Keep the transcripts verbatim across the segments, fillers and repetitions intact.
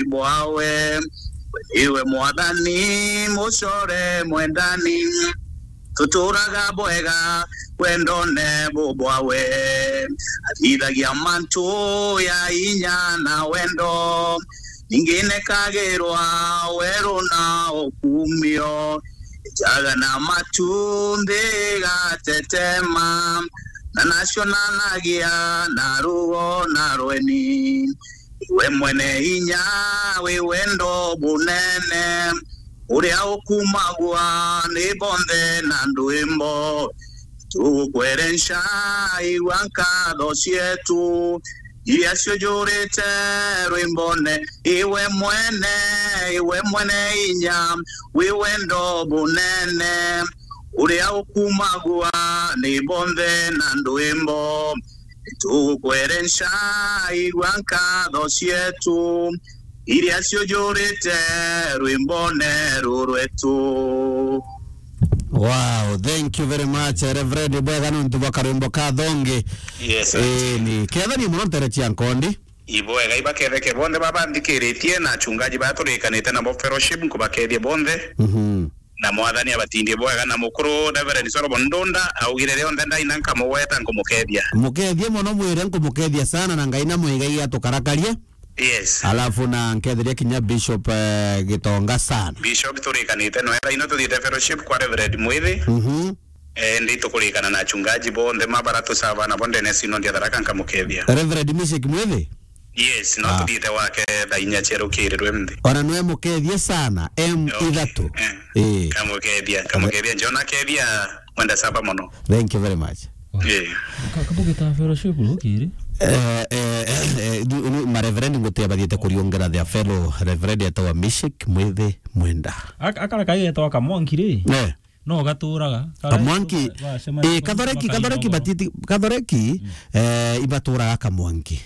bwawe. We niwe Mwathani, mucore mwendani. Tuturaga bwega wendone bubwawe. Athithagia mantu ya inya na wendo. Ningi nekagirwa weru na ukumio. Njaga na matu nthi igatetema, na nacionanagia na rugo na rweni. Iwe mwene inya wi wendo bunene, uria ukumagua ni bonthe na ndwimbo. Tugukwerenca igua nkatho cietu, iria ciujurite rwimbone. Iwe mwene, iwe mwene inya, wi wendo bunene, uria ukumagua ni bonthe na ndwimbo. Tugukwerenca igua nkatho cietu, iria ciujurite rwimbone ruru rwetu. Wow, thank you very much, Reverend. Bwega nontu bwa karwimbo ka thongi. Yes, sir. Eh, ni kethania muno ntere cia nkondi. Ibwega ibaketheke bonthe babanthikiritie na achungaji baa turikanite nabo fellowship, nkubakethia bonthe. Mhm. Na Mwathani abatindie bwega, na mukuru Reverend Solomon Ndunda augire rionthe ndaina nkamugweta nkumukethia. Mukethie mono, mwire nkumukethia sana, na Ngai na mwigai atukarakarie. Yes. Alafu na nketheria kinya Bishop, eh, Gitonga sana. Bishop turikanite noe, thaino tuthiite fellowship kwa Reverend Mwithi. Mhm. Eh, ndi tukurikana na achungaji bonthe mabara tusava nabo ndene ya Synod ya Tharaka nkamukethia. Reverend Mishek Mwithi? Yes, no Ah. tuthiite wake thaa inya cia rukiri rwimthi. Ona nwe mukethie sana, M Okay. ithatu. Eh. Eh. Kamukethia, kamukethia, Jona kethia, mwenda saba mono. Thank you very much. Eh. Ka-, kabugita fellowship rukiri? Eh, eh, eh, eh, ni, ni ma reverend ngutia bathiite kuriongera their fellow reverend etawa Mishek Mwithi Mwenda. Ak-, akara kagetwa Kamwanki ri? Eh. No gaturaga. Kamwanki, eh, Kathoreki, Kathoreki batiti, Kathoreki, Mm. eh, ibaturaga Kamwanki.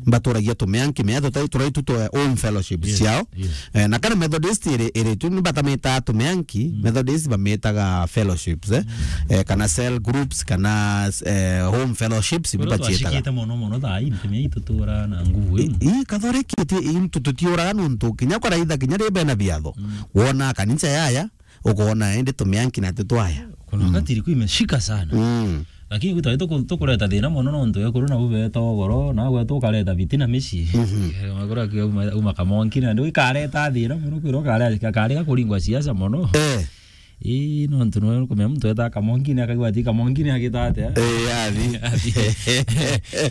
Baturagia Tumeanki, mea tutai, turai tu twa home fellowship Yes, ciao. yes. Eh, na kana Methodist iri, iri tu ni batamitaga Tumeanki, Mm. Methodist bamitaga fellowships, eh. Mm. Eh, kana cell groups, kana, eh, home fellowships, Kwero bibaciitaga. twashikite mono mono thaa ii, ntumia ii tutura na nguvu I, ii. i, Kathoreki, ti, i, tu, tutiuraga nontu, kinya kwaraitha, kinya ri bena biatho. Mm. Wona kanisa yaya, ukoona indi Tumeanki na tutwaya. Kuna Mm. wakati ilikuwa imeshika sana. Mm. Lakini gwitwa tuku-, tukureta thina mono nontu ekuru nabo beta ugoro, na gwetu ukareta bitina mici. Mhm. Eh, wakora ki uma, uma Kamwanki na ndio ikareta thina mono, kwira ukare, akare kuringwa siasa mono. Eh. Ii, nontu no kumenya muntu eta Kamwanki na akagwa ati Kamwanki ni agita atia. Eh, athi. Athi.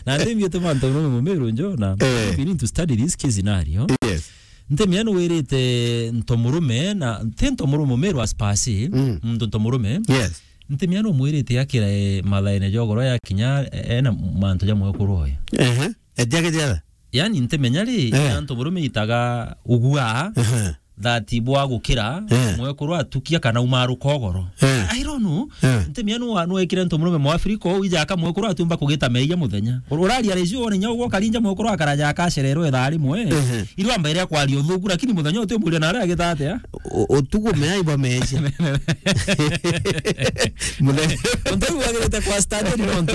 Na ndimbi tu mantu no mumiru njo na Eh. we need to study this case scenario. Yes. Ntimia nu wirite ntomurume, na ti ntomurume, mumiru as per se, Mm. muntu ntomurume. Yes. Ntimia nu mwirite akira, eh, mathaene jogoro ya kinya, eh, ena mantu ja mwekuru oyo. Ehe. Ejage jatha. Yani ntimenya ri, Eh. ya ntomurume itaga ugua, Ehe. that bwa gukira, Eh. mwekuru atukia kana umaruka ugoro. Eh. I don't know. Eh. Ntimia nu wa-, nu ekire ntomurume Mwafrika ou ija akamwekuru atumba kugita meia muthenya. Ur-, uraria recio wone nya ugwo karinja mwekuru akaraja akacererwo ithaa rimwe. Ehe. Irwa mbere ya kwaria uthuku, lakini muthenya uti umuria nare agita atia? U-, utuku meai bwa mecia. Muthenya Untu wagirite kwa standard no ntu.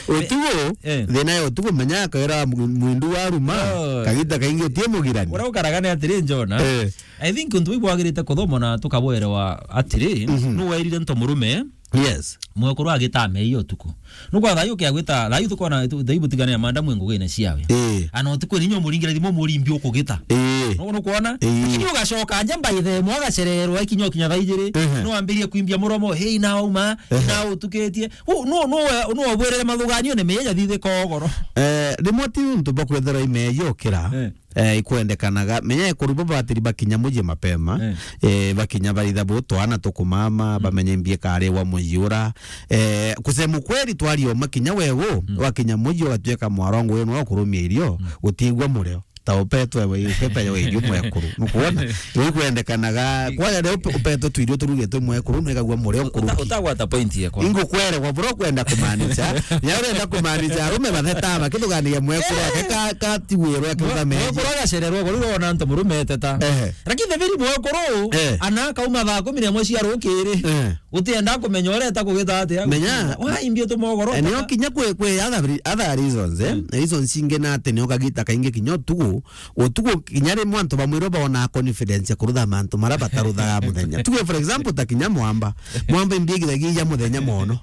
Utuku, Eh. thina ya utuku menya akaira mu-, mwindu wa ruma, Oh. kagita kaingi utie mugirani. Ura ukaraga ni atiri njona. Eh. I think untu bwagirite kuthoma na tukabwerewa atiri, Mhm. nu wairire ntomurume, Yes. mwekuru agita meia utuku. Nukwa thayu kia gwita, thayu tukona tu-, thayu butigane ya manda mwe ngugine ciawe. Eh. Ana utuku ni nyo muringira thimo murimbi ukugita. Eh. Nu, nukwona? Eh. Lakini ugacoka nja mbaithe mwa gacererwa ikinya kinya thaa ijiri. Ehe. No ambirie kwimbia muromo, "Hey, na uma, Ehe. na utukitie." U, no, no, no obwerere mathuganio ni meja thithika ugoro. Eh, rimwe ti untu bwa kwethera imeja ukira. Eh. Eh, ikwendekanaga. Menya ekuru bo batiri bakinya muji mapema. Eh. Eh, bakinya baritha bo twana tukumama, Mm. bamenye mbie kare wa muji ura. Eh, kusema ukweli twari o makinya wewe, Mm. wakinya muji ugatuika mwarongo wenu wa kurumia irio, Mm. gutiigua murio. ta upetwe we, ukepe yo irio mwekuru. Nukuona? Ni kwendekanaga, kwa yale upe-, upetwe tu irio turuge tu mwekuru, nwegagua murio nkuru. Uta-, utagwata point yekwa. Ingo kwere kwa bro kwenda kumaanisha. Ya urenda kumaanisha, arume batheta, bakithuganiria mwekuru, ake ka, ka ti wiro, ake Mwe-, uthamenje. Mwekuru agacererwa, kwa riro ona antu murume eteta. Ehe. Lakini the very mwekuru, Eh. ana kauma thaa kumi na imwe cia rukiri. Eh. Utienda kumenya ureta kugita atia. Menya. Why mbio tumogoro? Eh, nio kinya kwi, kwi other re-, other reasons, eh? Mm. Reasons ingi na ati nio kagita kaingi kinya utuku, utuku kinya rimwe antu bamwe irio bona confidence ya kurutha mantu mara bataruthaga muthenya. Tuge for example ta kinya mwamba. Mwamba imbi igithagia muthenya mono.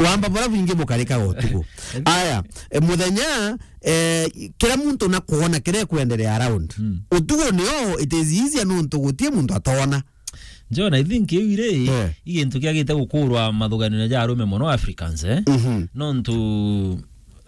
Wamba bora bingi bukarika utuku. Aya, eh, muthenya, eh, kila muntu na kuona kire kuendelea around. Mm. Utuku nio it is easier nontu gutie muntu atona. John, I think iu iri, Eh. i gintu kiagite gukurwa mathuganio ja arume mono Africans, eh? Mhm. Nontu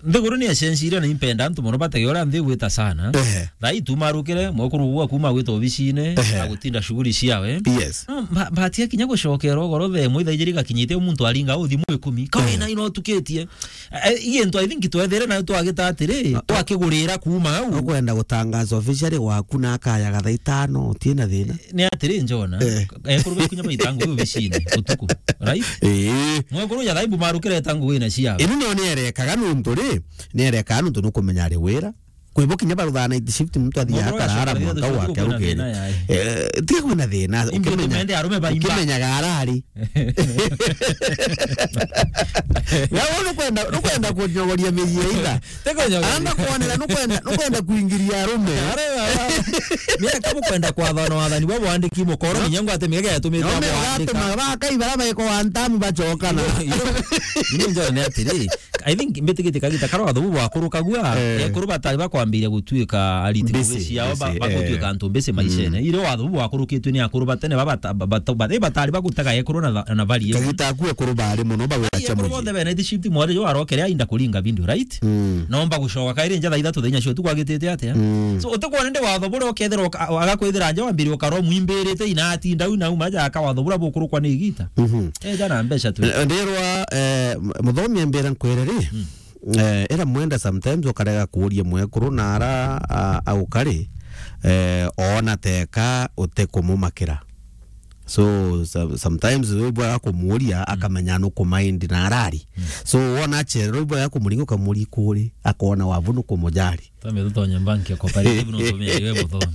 nthiguru ni yacenjirie na impenda antu mono batege uria nthi igwita sana. Eh. Thaa ii tumarukire, mwekuru ugwa kuma gwita obicine, Ehe. agutinda shughuli ciawe. Yes. No, ba-, batia kinya gucokera ugoro thaa imwe ithaa ijiri gakinyite muntu aringa uthi mwikumi. Ka Eh. wina ino tukitie. Eh, i gintu I think twethere na twagita atiri, twakigurira kuma au. Ukwenda gutangaza officially gwaku na akayaga thaa itano, utina thina. Ni atiri, Njona, Eh. ekuru bakinya baita ngugi obicine utuku, right? Ii. Mwekuru ya thaibu marukire eta ngugi na cia. Inu nio nierekaga nuntu ri, nierekaga nuntu nukumenya ari wira. Kwi bo kinya baruthaa night shift, muntu athiaga Mwekuru akarara, ya mwanka shift, gwake kwina arukiri. Thina yae. Eh, tiga kwina thina, Ingi ukimenya, utumende arume baimba. Ukimenyaga arari. Wewe nukwenda, nukwenda kunyogoria miji ya itha. Tekonyogoria. Anda kuonera, nukwenda, nukwenda kuingiria arume. Are baba. Mira kabu kwenda kwathana wathani bwa bwandiki mukoro, No. Minyango ate mega yatumite No, mega bwandika. Ate mabakai bara baiko wa ntamu bachokana. Ino, ino, ino njone atiri. I think mbitigite kagita kara watho bu bwakurukagua, Eh. ekuru batari bakwambiria gutuika ariti Busy, ngugi ciao, ba-, busy, bagutuika eh. antu busy maishene. Mm. Ire watho bu bwakurukitwe ni akuru batene ba bata-, ba-, bata-, ba-, batari bagutega ekuru na tha-, na value. Kagita aku ekuru bari mono bagwira Ai, cha ekuru muji. Bonthe bene ti shift mwari jo arokere ainda kuringa video, right? Mm. Nomba gucoka kairi nja thaa ithatu thaa inya cio tu kwagitite atia? Mm. So, utikwona ndi watho buria ukethira uka-, agakwithira nja wambiri ukaro mwimbirite inati ndau nau maja aka watho buria bukurukwa ni igita. Mhm. Eh, jana mbeca tu. Eh, ndirwa, eh, m-, muthomi ambira nkwire ri, Mm. eh, ira mwenda sometimes ukarega kuuria mwekuru na ara, a, aukari, eh, oona teka utikumumakira. So, so-, sometimes wibwa kumuuria, Mm. akamenya nukumind na arari. Mm. So, wona achererwa wibwa kumuringa ukamuuria ikuri, akona wavu nukumujari. Twambe tutonye bank ya cooperative, no tumia iwe muthomi.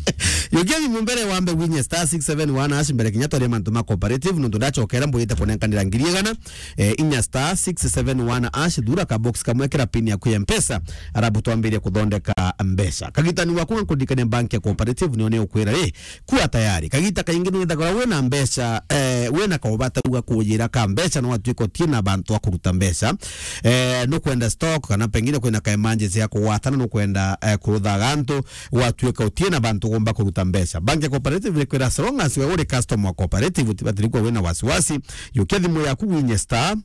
Yukia thimu mbere wambe winye star six seven one hash mbere kinya twarie mantu ma cooperative, nontu ndachokera mbwite kunenkanira ngiri igana, eh, inya star six seven one hash, thura ka box kamwe kira pin yaku ya Mpesa, arabu twambirie kuthondeka mbeca. Kagitani waku nkuririkania bank ya cooperative nio ni ukwira ri, kuwa tayari. Kagita kaingi ni withagirwa wina mbeca, eh, wina kaubata uga kujira ka mbeca, no watuika utie na bantu a kuruta mbeca. Eh, nukwenda stock kana pengine kwina ka emergency ya kugwatana, nukwenda, eh, kuruthaga antu, gwatuika utie na bantu ugomba kuruta mbeca. Bank ya Cooperative ni kwira, as long as we uri customer wa Cooperative, utibatiri kuwa wina wasiwasi. Yukia thimu yaku winye star,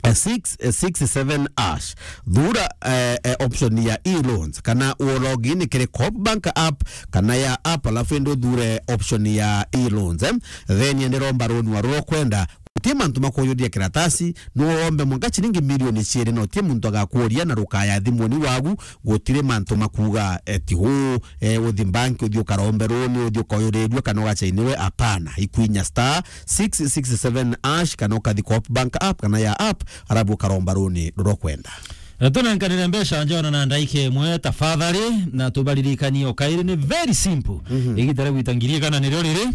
eh, six six seven hash. Thura, eh, eh, option ya e-loans, kana u log in kiri Coop Bank app, kana ya app, alafu indi uthure option ya e-loans, eh. Then ende romba runi wa ruria ukwenda. Utie mantu ma kuyuria kiratasi, no wombe mwanka chiringi milioni ciiri, na utie muntu agakuuria na rukaya thimuni wagu, gutiri mantu ma kuuga, eh, ti huu, eh, uthi bank, uthi ukarombe runi, uthi ukayurirue kana ugachainiwe, apana. Ikwinya star six six seven hash, kana ukathi Coop Bank app, kana ya app, arabu ukaromba runi ruria ukwenda. Eh, tunenkanire mbeca njona na ndaika imwe tafadhali, na tubaririkanie o kairi ni very simple. Mhm. Igita ria gwita ngiri igana nirio riri.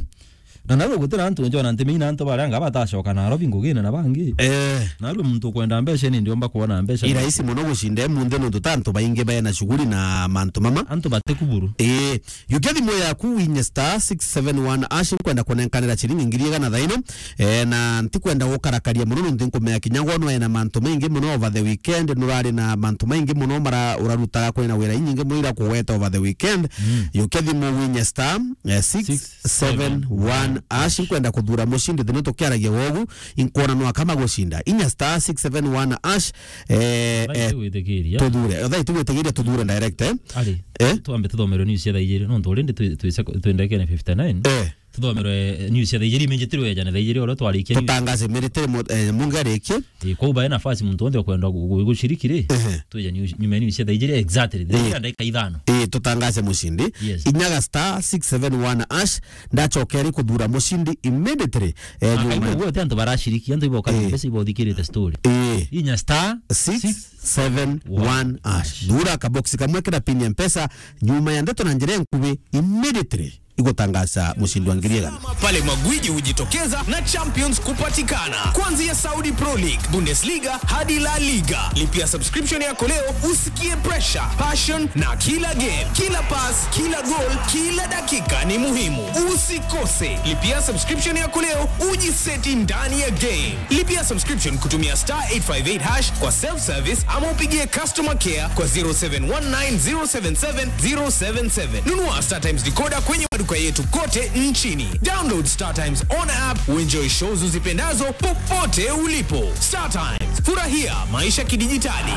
Na narua gutira antu njona ntimenya antu baria anga batacoka Nairobi ngugine na bangi. Eh. Narua muntu ukwenda mbeca ni ndiomba kuona mbeca. I rahisi mono gucinda munthi nontu ta antu baingi baena shughuli na mantu mama. Antu batikuburu. Eh. Yukia thimu yaku winye star six seven one hash, nkwenda kunenkanira chiringi ngiri igana thaino. Eh, na ntikwenda gukarakaria mono nontu nkumenya kinya gwe nwae na mantu maingi mono over the weekend, nurari na mantu maingi mono mara urarutaga kwina wira inyingi mono ira kugweta over the weekend. Mm. Yukia thimu winye star, eh, six seven one hash, nkwenda kuthura mucindi thino tukiaragia wogu, inkwona no akama gucinda. Inya star six seven one hash, eh, Thaa eh, itugwitikiria. Tuthure. Thaa itugwitikiria tuthure direct, eh? Ari, Eh? Twambe tuthomerwe news cia thaa igiri, nontu already twi-, twise-, twendekene fifty nine. Eh. Thomerwe news ya thaa ijiri, imenjetirwe ejane thaa ijiri, oro twarikia news. Tutangaze immediately mu-, eh, Mungi arikie. Eh, kwou bae nafasi muntu wonthe okwenda gu-, gu-, gushiriki ri? Ehe. Twija news, nyuma ya news ya thaa ijiri exactly. Thaa ijiri na ndagika ithano. Eh, tutangaze mushindi. Yes. Inyaga star six seven one hash, ndacoka eri kuthura mushindi immediately. Eh, na nyuma kaigua gwe ti antu barashiriki, antu iboka, eh, mbesa ibothikirite story. Eh. Inya star six seven one hash. Thura kaboksi kamwe kira pin ya Mpesa, nyuma ya ndeto na njira ya nkubi, immediately igutangaza mushindi wa ngiri igana. Pale magwiji hujitokeza na champions kupatikana. Kuanzia Saudi Pro League, Bundesliga hadi La Liga. Lipia subscription yako leo usikie pressure, passion na kila game, kila pass, kila goal, kila dakika ni muhimu. Usikose. Lipia subscription yako leo ujiseti ndani ya game. Lipia subscription kutumia star eight five eight hash kwa self service ama upigie customer care kwa zero seven one nine zero seven seven zero seven seven. Nunua Star Times decoder kwenye maduka yetu kote nchini. Download Star Times on app, uenjoy shows uzipendazo popote ulipo. Star Times, furahia maisha kidijitali.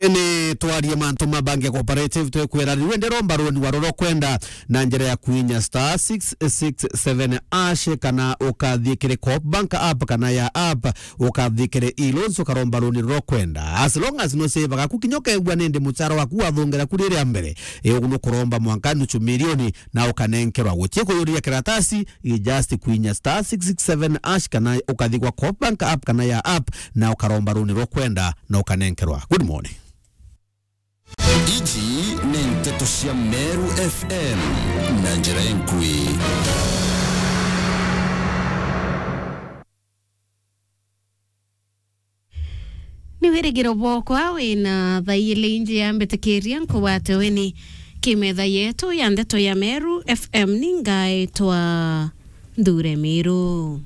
Ni twarie mantu ma Bank ya Cooperative, twekwira riu ndi romba runi wa roro kwenda na njira ya kuinya star six six seven hash, kana ukathii kiri Coop Bank app kana ya app, ukathii kiri e-loans ukaromba runi roro kwenda. As long as no save gaku kinya ukegua nindi muchara waku wathongera kuri ria mbere, e, ugu nukuromba mwanka nuchu milioni na ukanenkerwa. Gutie kuyuria karatasi, i just kuinya star six six seven hash kana ukathi kwa Coop Bank app kana ya app na ukaromba runi rwa kwenda na ukanenkerwa. Good morning. Iji ni nteto cia Meru F M na njira enkui. Ni wirigiro bwokwa wina thaili inji ya mbitikiria nkugwate weni kimetha yetu ya ndeto ya Meru F M. Ni ngaitwa Nthure Miru.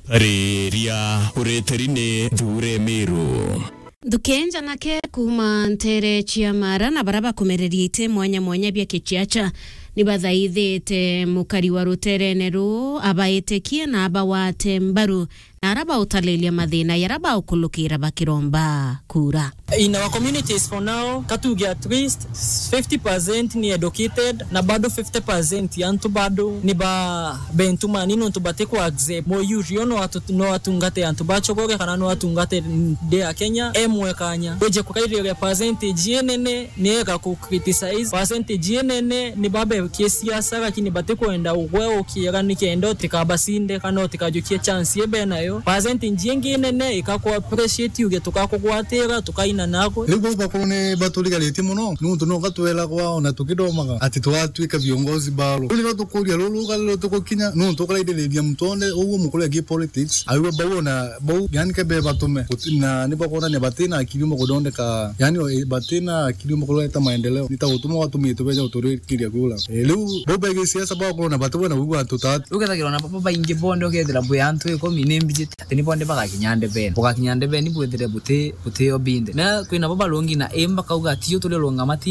Riria uritiri ni Nthure Miru. Nthuki njanake kuuma ntere cia Mara na bara bakumereria iti mwanya mwanya bia kiciaca ni bathaithite mukari wa ruterene ruu abaitikie na abawate mbaru na ara bautariria mathina yara baukulukira bakiromba kura. In our communities for now, katuge at least fifty percent ni educated, na bado fifty percent ya antu bado ni ba bentu manini, nontu batikwa accept muyurio no atu-, no atungate antu ba Chogoria kana no atungate nthi ya Kenya emwe kanya. Wije kukairiria percentage inene ni ega ku criticize, percentage inene ni babekie siasa, lakini batikwenda ugwe ukiega nikenda utikabasinde kana utikajukie chance ibe nayo. Percentage ingi inene ikaku appreciate, uge tukakugwatira, tukaina nagwe. Riu bau bakuru ni baturigaritie muno, nuntu no gatwelagwa ona tukithomaga ati tugatwika viongozi baro. Riu niro tukuria ruru ruga riro tugukinya, nuntu ukaraithiriria muntu onde uguo mukuru agi politics, aigua bau ona bau, yani kebe batume, guti-, na ni bakwonania batina akiri umwe kuthondeka, yani, o, batina akiri umwe kureta maendeleo. Ni ta gutuma watumitwe beja guturikiria kura. E, riu bau begi siasa bakorwo na batu bwena wigua antu tatu. Ukethagirwa na baba baingi bonde, ukethira bwi antu ikumi ni mbijite ati ni bonde bagakinya ndebeni. Bugakinya ndebeni bwithire buti, butio binde. Na kwina baba rungi na imba kauga ati yo turi runga matini.